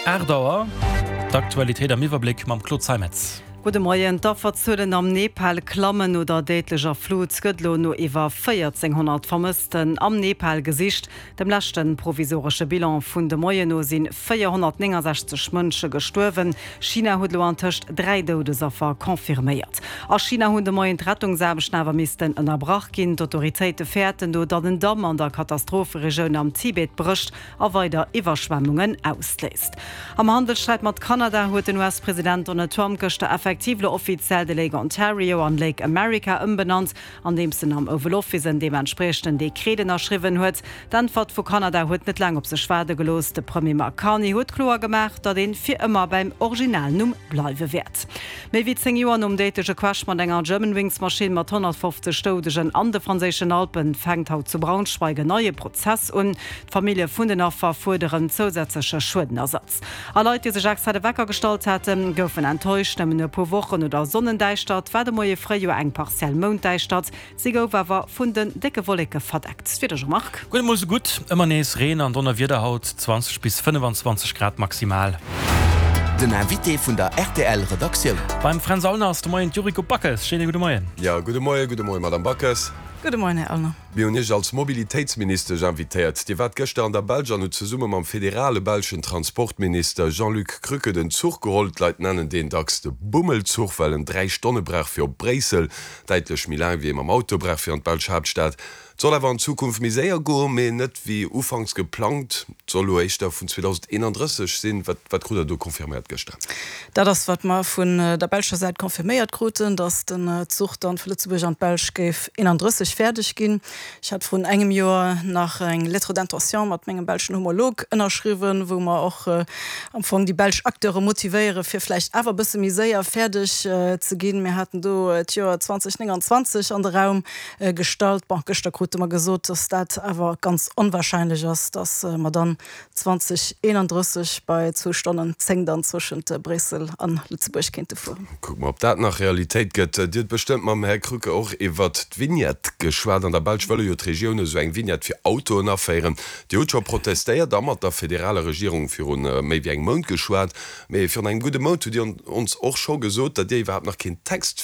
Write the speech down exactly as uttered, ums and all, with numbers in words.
Aacht Auer, d'Aktualitéit am Iwwerbléck mam Claude Zeimetz. Gudde Moien, D'Afferzuelen am Nepal klammen no der déidlecher Flut. Gëtt lo no iwwer véierzénghonnert Vermëssten am Nepal gesicht. Dem leschte provisoresche Bilan vun de Moien no si véierhonnertnéngensechzeg Mënsche gestuerwen. China huet lo antëscht dräi Doudesaffer confirméiert. A China hunn de Moien d'Rettungsaarbechten awer missten ënnerbrach ginn. D'Autoritéite fäerten do, datt en Damm an der Katastropheregioun am Tibet brécht a weider Iwwerschwemmungen ausléist. Am Handelssträit mat Kanada huet den U S-President Donald Trump gëschter effektiv lo offiziell de Lake Ontario an Lake America ëmbenannt, andeems en am Oval Office en deementspriechenden Dekret ënnerschriwwen huet. D'Äntwert vu Kanada huet net laang op sech waarde gelooss, de Premier Mark Carney huet kloer gemaach, datt ee fir ëmmer beim Originalnumm bleiwe wäert. Méi wéi zéng Joer nom déidleche Crash mat enger Germanwings-Maschinn mat honnertfofzeg Doudegen an de franséischen Alpen fänkt haut zu Braunschweig en neie Prozess un. D'Famillje vun den Affer fuerderen zousätzleche Schuedenersatz. A Leit, déi sech extra de Wecker gestallt haten, goufen enttäuscht. Nëmmen e puer Wochen no der Sonnendäischtert war de Moie fréi jo eng partiell Mounddäischtert. Si gouf awer vun den décke Wolleke verdeckt. D'Wieder, Jean-Marc. Guer net mol sou gutt, ëmmer nees Reen an Donnerwieder haut, zwanzeg bis fënnefenzwanzeg Grad maximal. Den Invité vun der R T L Redaktioun. Beim Fränz Aulner ass de Moien d'Yuriko Backes. Schéine gudde Moien. Jo, gudde Moien, gudde Moien, Madame Backes. Gudde Moien, Här Aulner. Mir hunn Iech als Mobilitéitsministesch invitéiert. Dir waart gëschter an der Belsch an hutt zesumme mam federale belschen Transportminister Jean-Luc Crucke den Zuch geholl. D'Leit nennen deen dacks de Bummelzuch, well en dräi Stonne brauch fir op Bréissel, däitlech méi laang wéi ee mam Auto brauch fir an d'belsch Haaptstad. Et soll awer an Zukunft méi séier goen, mee net wéi ufanks geplangt. Et soll elo éischter vun zweedausendeenandrësseg sinn. Wat, wat krut Der do confirméiert gëschter? Dat ass, wat mer vun der belscher Säit confirméiert kruten, datt den Zuch dann vu Lëtzebuerg an d'Belsch géif eenandrësseg fäerdeg ginn. Ech hat vrun engem Joer nach eng Lettre d'intention mat mengem belschen Homolog ënnerschriwwen, wou mer och am Fong déi belsch Acteure motivéiere fir vläicht awer e bësse méi séier fäerdeg ze ginn. Mir haten do d'Joer zweedausendnénganzwanzeg an de Raum gestallt. Bon, gëschter krute mer gesot, dass dat awer ganz onwahrscheinlech ass, dass mer dann zweedausendeenandrësseg bei zwou Stonnen zéng dann zwëschent Bréissel an Lëtzebuerg kéinte fueren. Kucke mer, ob dat nach Realitéit gëtt. Dir hutt bestëmmt mam Här Crucke och iwwert d'Vignette geschwat. An der Belsch wëlle jo d'Regioune sou eng Vignette fir Autoen aféieren. Dir hutt scho protestéiert a mat der federaler Regierung viru méi wéi engem Mount geschwat. Mee virun engem gudde Mount hutt Dir ons och scho gesot, datt Dir iwwerhaapt nach keen Text